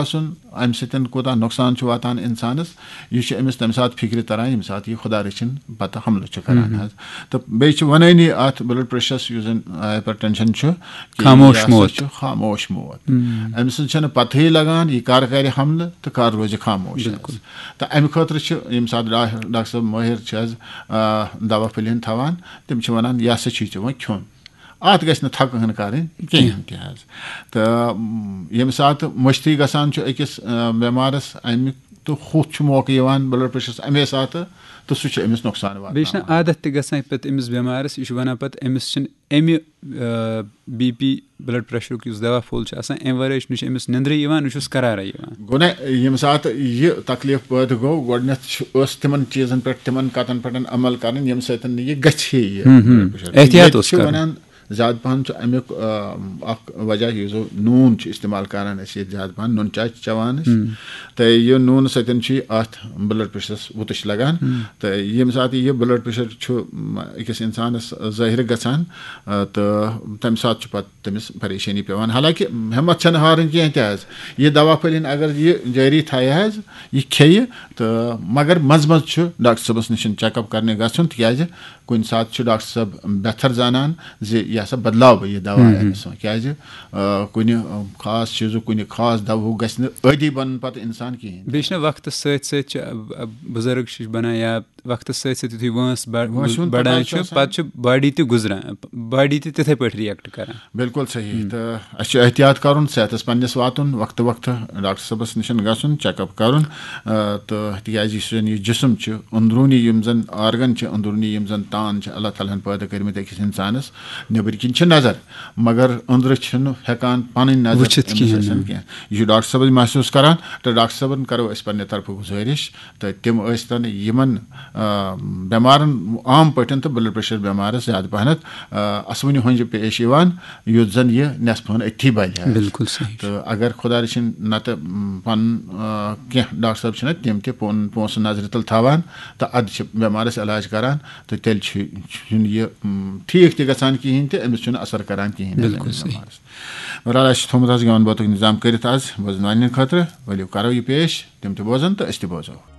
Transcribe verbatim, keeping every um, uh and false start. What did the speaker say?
آسُن، اَمہِ سۭتۍ کوٗتاہ نۄقصان چھُ واتان اِنسانَس، یہِ چھُ أمِس تَمہِ ساتہٕ فِکرِ تَران، ییٚمہِ ساتہٕ یہِ خۄدا رٔچھِنۍ پَتہٕ حملہٕ چھُ کَران حظ۔ تہٕ بیٚیہِ چھِ وَنٲنی اَتھ بٕلڈ پریشرَس، یُس زَن ہایپر ٹینشن چھُ، کہِ خاموش یہِ ہسا موت۔ چھُ خاموش موت۔ أمۍ سٕنٛز چھَنہٕ پَتہٕے لَگان، یہِ کَر کَرِ حملہٕ تہٕ کَر روزِ خاموش حظ۔ بِلکُل۔ تہٕ اَمہِ خٲطرٕ چھِ ییٚمہِ ساتہٕ ڈا-، ڈاکٹر صٲب مٲہِر چھِ حظ، آ، دوا پھٔلۍ ہن تھاوان، تِم چھِ وَنان، یہِ ہسا چھُے ژےٚ وۄنۍ کھیوٚن۔ اَتھ گژھِ نہٕ تھکہٕ ہن کَرٕنۍ کِہیٖنۍ تہِ حظ۔ تہٕ، م، ییٚمہِ ساتہٕ مٔشتٕے گژھان چھُ أکِس، آ، بٮ۪مارَس، اَمیُک تہٕ ہُتھ چھُ موقعہٕ یِوان بٕلڈ پریشرَس اَمے ساتہٕ، تہٕ سُہ چھُ أمِس نۄقصان بیٚیہِ چھُنہٕ واتناوان۔ عادت تہِ گژھان پَتہٕ أمِس بٮ۪مارَس، یہِ چھُ وَنان پَتہٕ أمِس چھِنہٕ اَمہِ، آ، بی پی بٕلڈ پریشرُک یُس دوا پھوٚل چھُ آسان، اَمہِ وَرٲے چھُ، نہ چھُ أمِس نِندرٕے یِوان، نہ چھُس قرارٕے یِوان۔ گوٚو نہ، ییٚمہِ ساتہٕ یہِ تکلیف پٲدٕ گوٚو، گۄڈٕنٮ۪تھ چھُ، ٲس تِمن چیٖزن پٮ۪ٹھ، تِمن کتن پٮ۪ٹھ عمل کرٕنۍ، ییٚمہِ سۭتۍ نہٕ یہِ گژھِ ہے یہِ ہُم، ہُم۔ Blood pressure. احتیاط ییٚتہِ اوس چھِ کرُن۔ وَنان، زیادٕ پَہَن چھُ اَمیُک، آ، اَکھ وجہ، یُس زَن نوٗن چھُ استعمال کران أسۍ ییٚتہِ زیادٕ پَہَن، نُن چاے چھِ چٮ۪وان أسۍ۔ تہٕ یہِ نوٗنہٕ سۭتۍ چھُ یہِ اَتھ بٕلڈ پریشرَس وُتٕش لگان۔ تہٕ ییٚمہِ ساتہٕ یہِ بٕلڈ پریشر چھُ، م، أکِس اِنسانَس ظٲہِر گژھان، آ، تہٕ تَمہِ ساتہٕ چھُ پَتہٕ تٔمِس پریشٲنی پٮ۪وان۔ حالانکہ ہٮ۪مَتھ چھَنہٕ ہارٕنۍ کینٛہہ تہِ حظ۔ یہِ دوا پھٔلۍ ہن اگر یہِ جٲری تھایہِ حظ، یہِ کھیٚیہِ، تہٕ مگر منٛزٕ منٛزٕ چھُ ڈاکٹر صٲبَس نِش چیک اپ کرنہِ گژھُن، تِکیٛازِ کُنہِ ساتہٕ چھُ ڈاکٹر صٲب بہتر زانان زِ یہِ ہسا بدلاو بہٕ یہِ دوا أمِس منٛز۔ کیٛازِ، آ، کُنہِ، آ، خاص چیٖزُک، کُنہِ خاص دواہُک گژھِ نہٕ عٲدی بَنُن پَتہٕ اِنسان کِہیٖنۍ۔ بیٚیہِ چھِنہ وقتَس سۭتۍ سۭتۍ چھِ، آ، آ، بُزرٕگ چھِ بَنان یا وقتَس سۭتۍ سۭتۍ یُتھُے وٲنٛس بَ-، وٲنٛسہِ ہُنٛد بَڑان پَکان چھُ چھُ، آسان۔ پَتہٕ چھُ باڈی تہِ گُزران، باڈی تہِ تِتھَے پٲٹھۍ ریکٹ کران۔ بِلکُل صحیح۔ تہٕ اَسہِ چھُ احتیاط کَرُن، صحتَس پنٛنِس واتُن، وقتہٕ وقتہٕ ڈاکٹر صٲبَس نِش گژھُن، چیک اپ کَرُن۔ آ، تہٕ تِکیٛازِ یُس زَن یہِ جسم چھُ، أنٛدروٗنی یِم زَن آرگن چھِ، أنٛدروٗنی یِم زَن تان چھِ اللہ تعالیٰ ہَن پٲدٕ کٔرمٕتۍ أکِس اِنسانَس، نیٚبٕرۍ کِنۍ چھِ نظر، مگر أنٛدرٕ چھِنہٕ ہٮ۪کان پَنٕنۍ نظر وٕچھِتھ أمِس کِہیٖنۍ ٲسِتھ نہٕ۔ کینٛہہ۔ یہِ چھُ ڈاکٹر صٲبَس محسوٗس کَران، تہٕ ڈاکٹر صٲبَن کَرو أسۍ پنٛنہِ طرفہٕ گُزٲرِش، تہٕ تِم ٲسۍ تَن یِمَن، آ، بٮ۪مارَن عام پٲٹھۍ تہٕ بٕلڈ پریشر بٮ۪مارَس زیادٕ پَہنَتھ، آ، اَسوٕنہِ ہۄنٛجہِ پیش یِوان، یُتھ زَن یہِ نٮ۪صفہٕ ہن أتھی بَلہِ حظ۔ بِلکُل صحیح۔ تہٕ اگر خۄدا رٔچھِنۍ نَتہٕ، م، پَنُن، آ، کینٛہہ ڈاکٹر صٲب چھِنہ تِم تہِ پون-، پونٛسہٕ نظرِ تَل تھاوان، تہٕ اَدٕ چھِ بٮ۪مارَس علاج کَران، تہٕ تیٚلہِ چھُ، چھُنہٕ یہِ، م، ٹھیٖک تہِ گژھان کِہیٖنۍ تہِ، أمِس چھُنہٕ اثر کَران کِہیٖنۍ حظ بِلکُل أمِس صحیح۔ بٮ۪مارَس۔ بہرحال، اَسہِ چھُ تھوٚمُت حظ گٮ۪وَن بٲتُک نظام کٔرِتھ آز بوزَن والٮ۪ن خٲطرٕ۔ ؤلِو کَرو یہِ پیش، تِم تہِ بوزَن تہٕ أسۍ تہِ بوزو۔